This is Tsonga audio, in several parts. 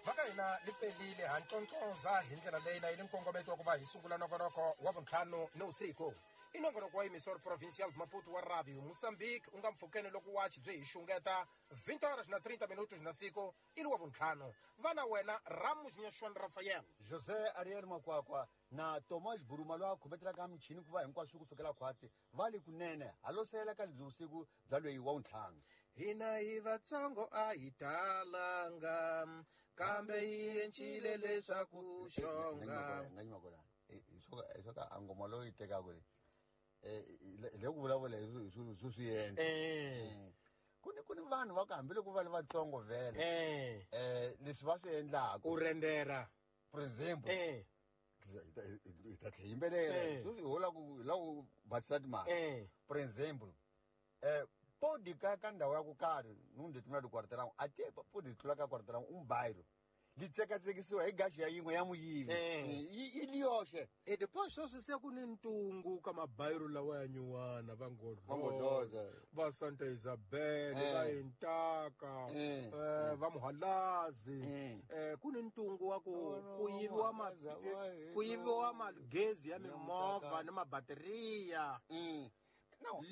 Mhaka hina li pelile ha ntsontsonza hi ndlela leyi na yi li nkongometo wa ku va hi sungula nongonoko wa vuntlhanu ni vusiku. I nongonoko wa Emissor Provincial de Maputo wa Radio Moçambique u nga mpfhukeni loko wachi byi hi xungeta 20 horas na 30 minutos na siku i li wa vuntlhanu. Va na wena Ramos Nyaxwan Rafael. José Ariel Makwakwa na Tomas Buruma loyi a khometelaka michini ku va hinkwaswo ku sukela khwatsi va le kunene halosela ka lebyi vusiku bya loyi wa vuntlhanu. Hina hi vatsongo a hi talanga kambe hi encile leswaku xonga. Nga nyima kona hi swo ka a ngoma loyi tekaka leyi hi le ku vulavula hi swilo swo swi endla. Ku ni vanhu va ku hambiloko va ri vatsongo vhele leswi va swi endlaka u rendera for example hi ta tlhe yimbelela sweswi ho la ku hi la ku basisa timali. For example podi ka ndhawu ya ku karhi num determinado quarteirão a te podi tlula ka quarteirão um bairro li tsekatsekisiwa hi gaxi ya yin'we ya muyivi yi li yoxe. E depois sweswi se ku ni ntungu ka mabayiro lawa ya nyuwana va Ngodloza, va Santa Isabel, va Intaka, va Muhalazi. Ku ni ntungu wa ku ku yiviwa ma ku yiviwa magezi ya mimovha ni mabateriya.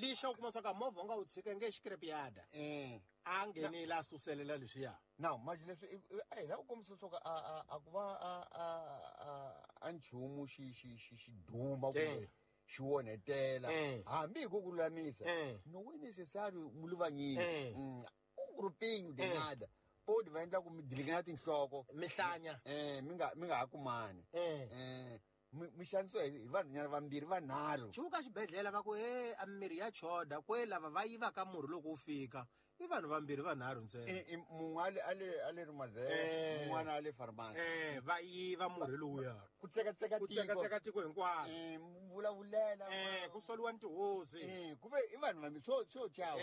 Lixa u kuma swa ka movha u nga wu tshika nge xikrepiyada a nghenile a suselela leswiya. Now manje leswi a hi lava ku kombisa swa ku a ku va a nchumu xi xi xi xi duma kumbe xi onhetela hambi hi ku ku lulamisa no é necessário muluvanyini um grupinho de nada podi va endla ku mi dilikana tinhloko mihlanya mi nga ha kumani mi xanisiwa hi vanhunyana vambirhi vanharhu. Chuka xibedhlele va ku he a mirhi ya choda kwe lava va yivaka murhi loko wu fika i vanhu vambirhi vanharhu ntsena. Mun'we a le Rumazele mun'wana a le pharmacy va yiva murhi lowuya ku tsekatseka tiko ku tsekatseka tiko hinkwaro vulavulela ku soliwa ni tihosi ku ve i vanhu vambirhi swo chava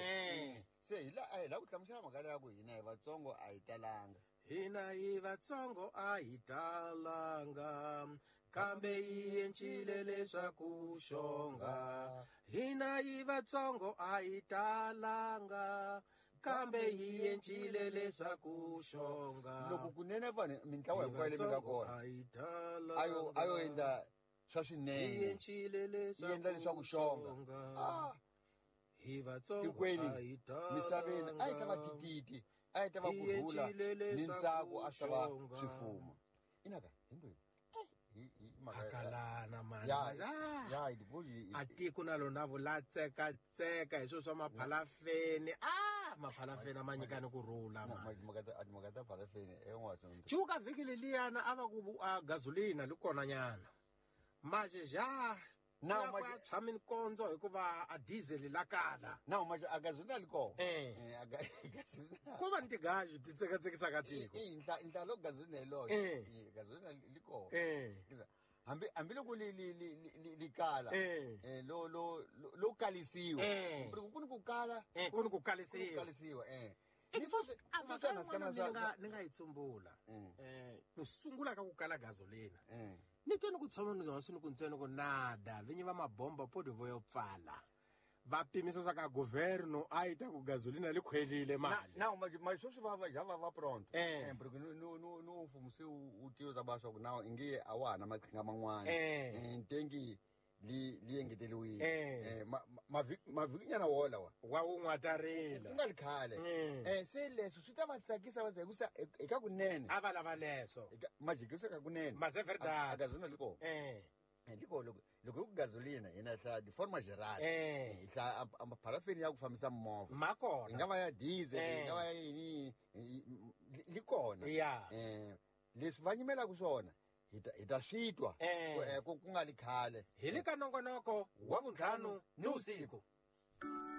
se hi la ku hlamusela mhaka leya ku hina hi vatsongo a hi talanga. Hina hi vatsongo a hi talanga kambe hi encile leswaku xonga. Hina hi vatsongo a hi talanga kambe hi encile leswaku xonga. Loko kunene vanhu mintlawa hinkwayo leyi mi nga kona a yo endla swa swinene yi endla leswaku xonga hi vatsongo tikweni misaveni a yi ta va tititi a yi ta va kurhula ni ntsako a swi ta va swi fuma. Inaka hi ndweni hakalana mani a tiko na lona vula tsekatseka hi swilo swa maphalafeni maphalafeni a ma nyikani ku rhula mhaka ta phalafeni cuka vhiki leliyana a va ku a gasolina li kona nyana maje ja Now manje tshwa minkondzo hikuva a diesel la kala. Now manje a gasolina li kona. Ku va ni tigaji ti tsekatsekisaka tiko. Intla lo gasolina hi loyo. Gasolina li kona. Hambi loko li kala lo lo lo kalisiwa. Ku ni ku kala, ku ni ku kalisiwa. Kalisiwa Mhaka yin'wana ni nga yi tsumbula ku sungula ka ku kala gasolina. Ni twe ni ku tshama ni hansi ni ku ntsena ku nada vinyi va mabomba podi vo yo pfala va pimisa swa ka governo a yi ta ku gasolina li khwelile mali. Now manje sweswi va ja va pronto porque no mfumo se wu tiva ta ba swa ku now inge a wa ha na maqhinga man'wana ntengi li engeteriwile mavhikinyana wo lawa wa wu n'watarila ku nga ri khale se leswi swi ta va tsakisa va hikusa eka kunene a va lava leswo majikisa ka kunene mas é verdade a gasolina li kona li kona loko hi ku gasolina hina hla de forma geral hi hla pharafeni ya ku fambisa movha ma kona yi nga va ya diesel yi nga va ya yini li kona leswi va nyimelaka swona hi ta swi twa ku nga li khale hi le ka nongonoko wa vuntlhanu ni vusiku.